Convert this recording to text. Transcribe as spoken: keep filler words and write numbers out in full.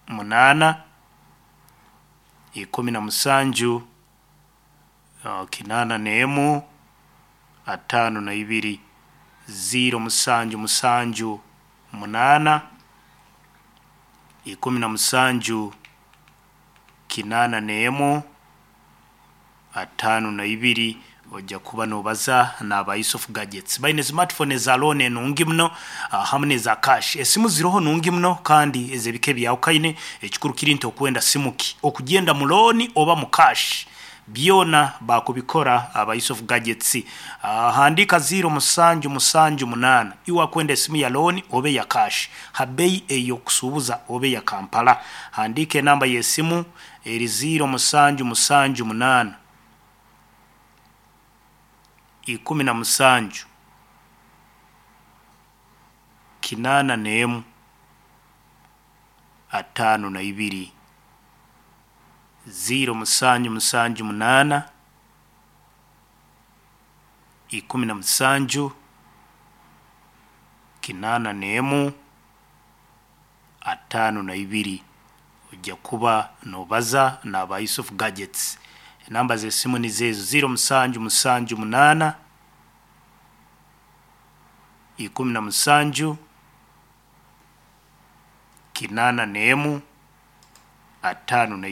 Munaana ikumi na musanju uh, kinaana n'emu ataano na ibiri. Ziro musanju musanju munaana ikumi na musanju kinaana n'emu ataano na ibiri. Ojja kuba nobaza n'aba Yusuf Gadgets, baine smartphone eza loan enungi muno, ah, hamu n'eza cash. Esimu ziroho nungi muno kandi ez'ebika ebyahukane. Ekikuru kiri nti okwenda simu ki, okugenda mu loan oba mu cash, byona bakubikora aba Yusuf Gadgets. Ah, handika ziro musanju musanju munaana iwe akwenda esimu ya loan oba eya cash ha bei ey'okusuubuza oba eya Kampala. Handika enamba y'esimu eri ziro musanju musanju munaana ikumi na musanju kinaana n'emu ataano na ibiri. Ziro musanju musanju munaana ikumi na musanju kinaana n'emu ataano na ibiri. Ojja kuba nobaza n'aba Yusuf Gadgets. Enamba z'esimu nizo ezo, ziro musanju musanju munaana ikumi na musanju kinaana n'emu ataano na.